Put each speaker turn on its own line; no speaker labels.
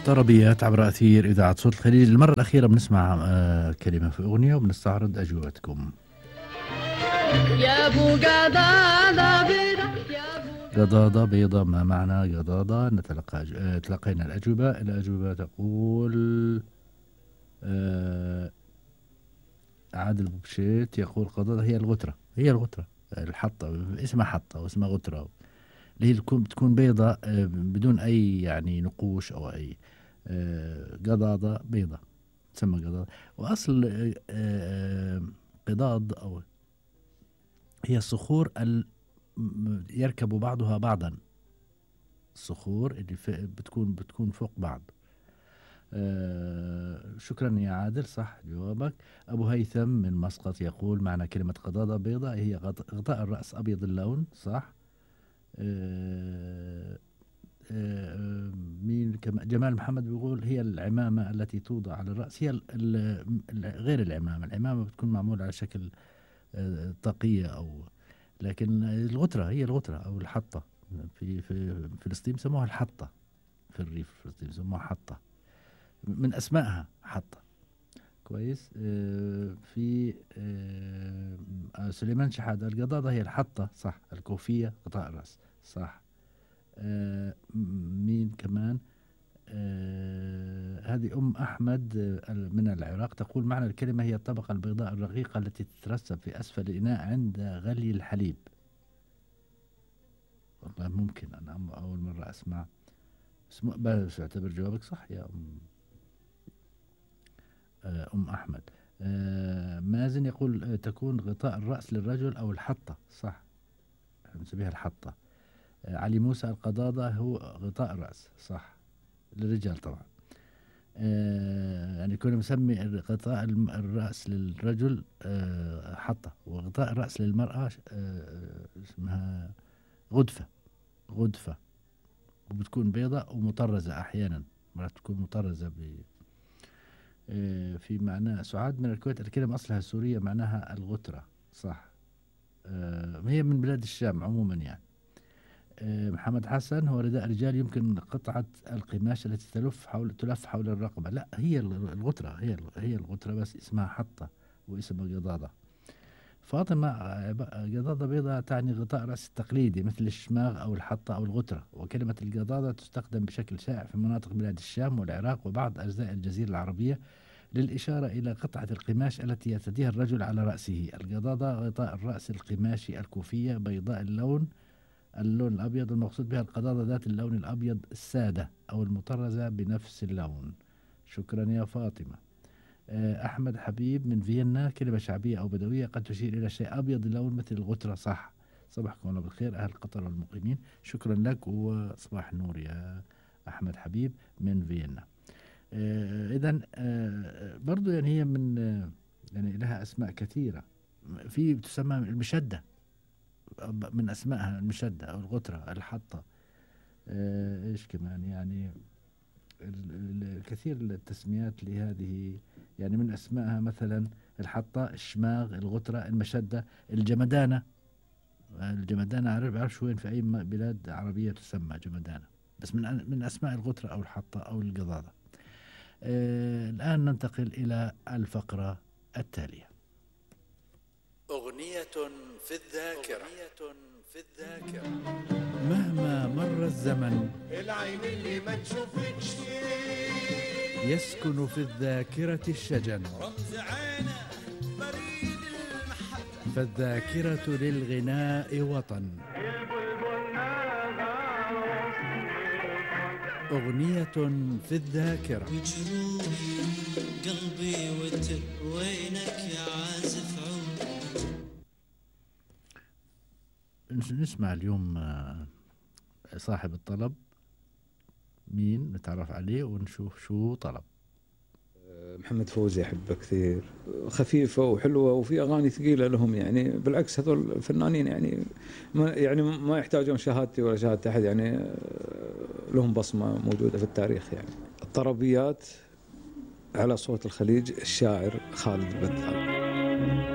طربيات عبر أثير إذاعة صوت الخليج. المرة الأخيرة بنسمع كلمة في أغنية وبنستعرض أجوبتكم.
يا أبو قضاضة بيضة،
قضاضة بيضة، ما معنى قضاضة؟ تلقينا الأجوبة. الأجوبة تقول عادل بوبشيت يقول قضاضة هي الغترة، هي الغترة الحطة، اسمها حطة واسمها غترة، اللي هي بتكون بيضة بدون أي يعني نقوش أو أي قضاضة بيضة تسمى قضاضة. وأصل قضاض أو هي الصخور يركب بعضها بعضا، الصخور اللي بتكون فوق بعض. شكرا يا عادل، صح جوابك. أبو هيثم من مسقط يقول معنى كلمة قضاضة بيضة هي غطاء الرأس أبيض اللون، صح. مين كمان؟ جمال محمد بيقول هي العمامة التي توضع على الرأس، هي غير العمامة بتكون معمولة على شكل طاقية أو، لكن الغترة هي الغترة أو الحطة. في فلسطين بسموها الحطة، في الريف فلسطين بسموها حطة، من أسمائها حطة. كويس. في سليمان شحادة القضاضة هي الحطة، صح. الكوفية غطاء الرأس، صح. مين كمان؟ هذه أم أحمد من العراق تقول معنى الكلمة هي الطبقة البيضاء الرقيقة التي تترسب في أسفل الإناء عند غلي الحليب. والله ممكن، أنا أول مرة أسمع. بس أعتبر جوابك صح يا أم أحمد. مازن يقول تكون غطاء الرأس للرجل أو الحطة، صح، نسميها الحطة. علي موسى القضاضة هو غطاء الرأس، صح، للرجال طبعا. يعني كنا مسمي غطاء الرأس للرجل حطة، وغطاء الرأس للمرأة اسمها غدفة، وبتكون بيضاء ومطرزة أحيانا، مرات تكون مطرزة في معنى. سعاد من الكويت الكلمة أصلها سورية معناها الغترة، صح. هي من بلاد الشام عموما يعني. محمد حسن هو رداء رجال يمكن قطعة القماش التي تلف حول الرقبة. لا، هي الغترة، هي الغترة بس اسمها حطة واسمها قضاضة. فاطمة قضاضة بيضاء تعني غطاء رأس التقليدي مثل الشماغ أو الحطة أو الغترة. وكلمة القضاضة تستخدم بشكل شائع في مناطق بلاد الشام والعراق وبعض أجزاء الجزيرة العربية للإشارة إلى قطعة القماش التي يرتديها الرجل على رأسه. القضاضة غطاء الرأس القماشي الكوفية بيضاء اللون الأبيض، المقصود بها القضاضة ذات اللون الأبيض السادة أو المطرزة بنفس اللون. شكرا يا فاطمة. أحمد حبيب من فيينا كلمة شعبية أو بدوية قد تشير إلى شيء أبيض اللون مثل الغترة، صح. صباحكم الله بالخير أهل قطر والمقيمين، شكرا لك وصباح النور يا أحمد حبيب من فيينا. إذن برضو يعني هي من يعني لها أسماء كثيرة. في تسمى المشدة، من أسمائها المشدة أو الغترة، الحطة. إيش كمان يعني الكثير التسميات لهذه، يعني من أسمائها مثلا الحطة، الشماغ، الغترة، المشدة، الجمدانة. الجمدانة بعرفش وين في أي بلاد عربية تسمى جمدانة، بس من أسماء الغترة أو الحطة أو القضاضة. الآن ننتقل إلى الفقرة التالية.
أغنية في الذاكرة.
مهما مر الزمن
العين اللي ما تشوفكش
يسكن في الذاكرة الشجن،
رمز عينه بريد المحبة،
فالذاكرة للغناء وطن. أغنية في الذاكرة.
وجروحي قلبي وتر وينك يا عازف عود.
نسمع اليوم صاحب الطلب مين، نتعرف عليه ونشوف شو طلب.
محمد فوزي أحبه كثير، خفيفة وحلوة وفي أغاني ثقيلة لهم، يعني بالعكس هذول الفنانين يعني ما يحتاجون شهادتي ولا شهادة أحد، يعني لهم بصمة موجودة في التاريخ. يعني الطربيات على صوت الخليج، الشاعر خالد البدال.